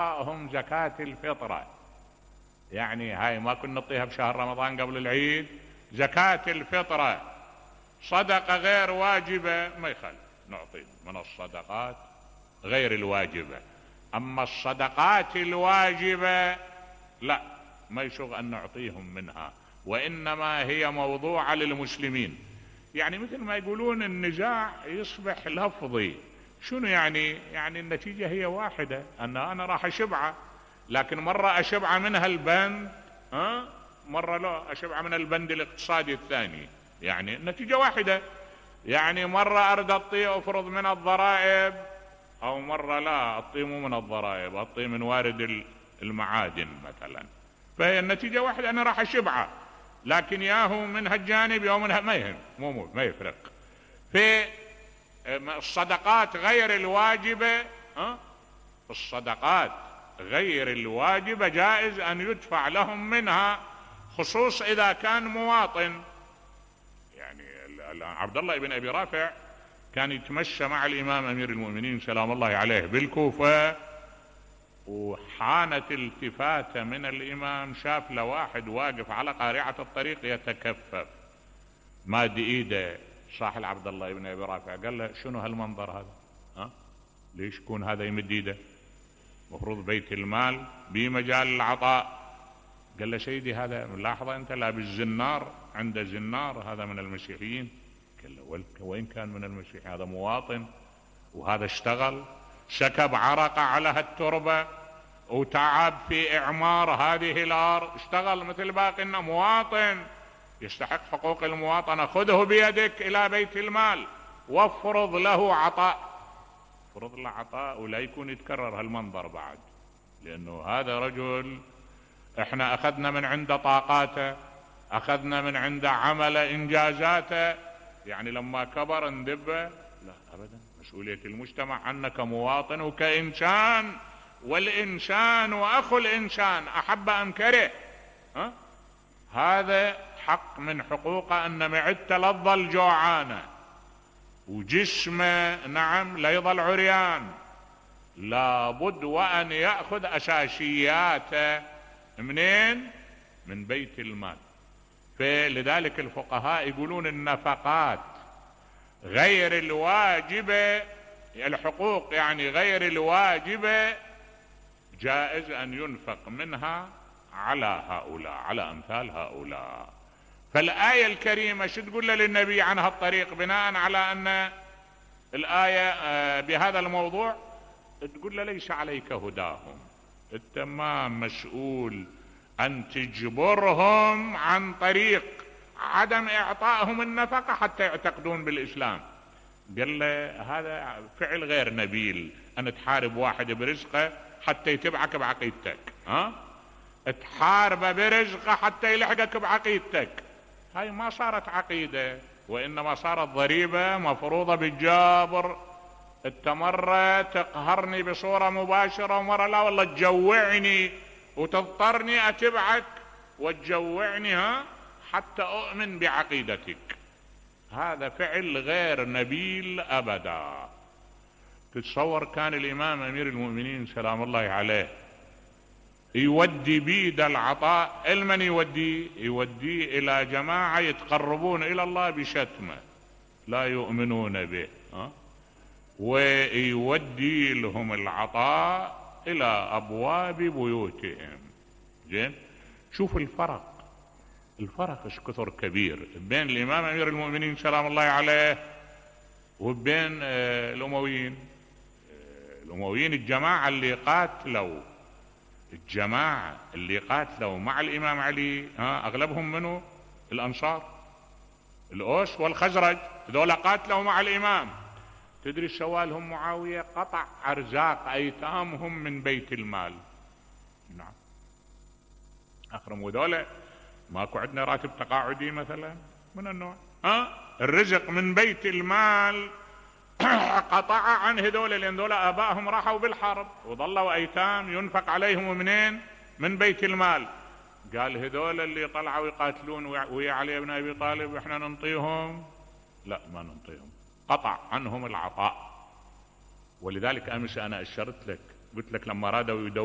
هم زكاة الفطرة. يعني هاي ما كنا نعطيها بشهر رمضان قبل العيد، زكاة الفطرة صدقة غير واجبة ما يخالف نعطي من الصدقات غير الواجبة. اما الصدقات الواجبة لا، ما يشغ ان نعطيهم منها، وانما هي موضوعة للمسلمين. يعني مثل ما يقولون النزاع يصبح لفظي. شنو يعني النتيجة هي واحدة، انا راح اشبعه، لكن مرة اشبعه منها البند، مرة لا اشبعه من البند الاقتصادي الثاني. يعني النتيجة واحدة. يعني مرة ارد اعطيه افرض من الضرائب، او مرة لا اعطيه مو من الضرائب، اعطيه من وارد المعادن مثلا، فهي النتيجة واحدة، انا راح اشبعه، لكن ياهو من هالجانب ياهو من ما يهم، ما يفرق. في الصدقات غير الواجبة، الصدقات غير الواجبة جائز ان يدفع لهم منها، خصوص اذا كان مواطن. يعني عبد الله بن ابي رافع كان يتمشى مع الامام امير المؤمنين سلام الله عليه بالكوفة، وحانت التفاتة من الامام، شاف له واحد واقف على قارعة الطريق يتكفف، ماد ايده صاحل عبد الله بن ابي رافع، قال له شنو هالمنظر هذا؟ ليش يكون هذا يمد ايده؟ مفروض بيت المال بمجال العطاء. قال له سيدي هذا ملاحظة انت لابس زنار، عنده زنار، هذا من المسيحيين. قال له وين كان من المسيحيين؟ هذا مواطن، وهذا اشتغل سكب عرق على هالتربة وتعب في اعمار هذه الارض، اشتغل مثل باقينا، مواطن يستحق حقوق المواطنة. خذه بيدك الى بيت المال وافرض له عطاء، فرض له عطاء، ولا يكون يتكرر هالمنظر بعد، لانه هذا رجل احنا اخذنا من عنده طاقاته، اخذنا من عنده عمل انجازاته، يعني لما كبر ندبه؟ لا ابدا. مسؤولية المجتمع عنك كمواطن وكإنسان، والإنسان وأخو الإنسان أحب أم كره، هذا حق من حقوقه أن معدته لا تظل جوعانة وجسمه نعم لا يظل عريان، لابد وأن يأخذ أساسياته منين؟ من بيت المال. فلذلك الفقهاء يقولون النفقات غير الواجبة، الحقوق يعني غير الواجبة جائز أن ينفق منها على هؤلاء، على أمثال هؤلاء. فالآية الكريمة شو تقول للنبي عن هالطريق بناء على أن الآية بهذا الموضوع؟ تقول له ليس عليك هداهم، أنت ما مسؤول أن تجبرهم عن طريق عدم إعطائهم النفقة حتى يعتقدون بالإسلام. قال له هذا فعل غير نبيل، أن تحارب واحد برزقه حتى يتبعك بعقيدتك، تحاربه برزقه حتى يلحقك بعقيدتك، هاي ما صارت عقيدة، وإنما صارت ضريبة مفروضة بالجابر. انت مرة تقهرني بصورة مباشرة، ومرة لا والله تجوعني وتضطرني اتبعك وتجوعني حتى اؤمن بعقيدتك. هذا فعل غير نبيل ابدا. تتصور كان الامام امير المؤمنين سلام الله عليه يودي بيد العطاء، المن يوديه الى جماعة يتقربون الى الله بشتمه لا يؤمنون به، ويودي لهم العطاء الى ابواب بيوتهم. زين، شوف الفرق ايش كثر كبير بين الامام امير المؤمنين سلام الله عليه وبين الامويين. الجماعة اللي قاتلوا مع الامام علي، اغلبهم منه الانصار، الاوس والخزرج، ذولا قاتلوا مع الامام. تدري سوالهم معاوية؟ قطع ارزاق ايتامهم من بيت المال. نعم، اخرموا ذولا ماكو عندنا راتب تقاعدي مثلا من النوع، الرزق من بيت المال قطع عن هذول، لان ذولا ابائهم راحوا بالحرب وظلوا ايتام ينفق عليهم منين؟ من بيت المال. قال هذول اللي طلعوا يقاتلون ويا علي بن ابي طالب احنا ننطيهم؟ لا ما ننطيهم، قطع عنهم العطاء. ولذلك امس انا اشرت لك قلت لك لما رادوا يدونون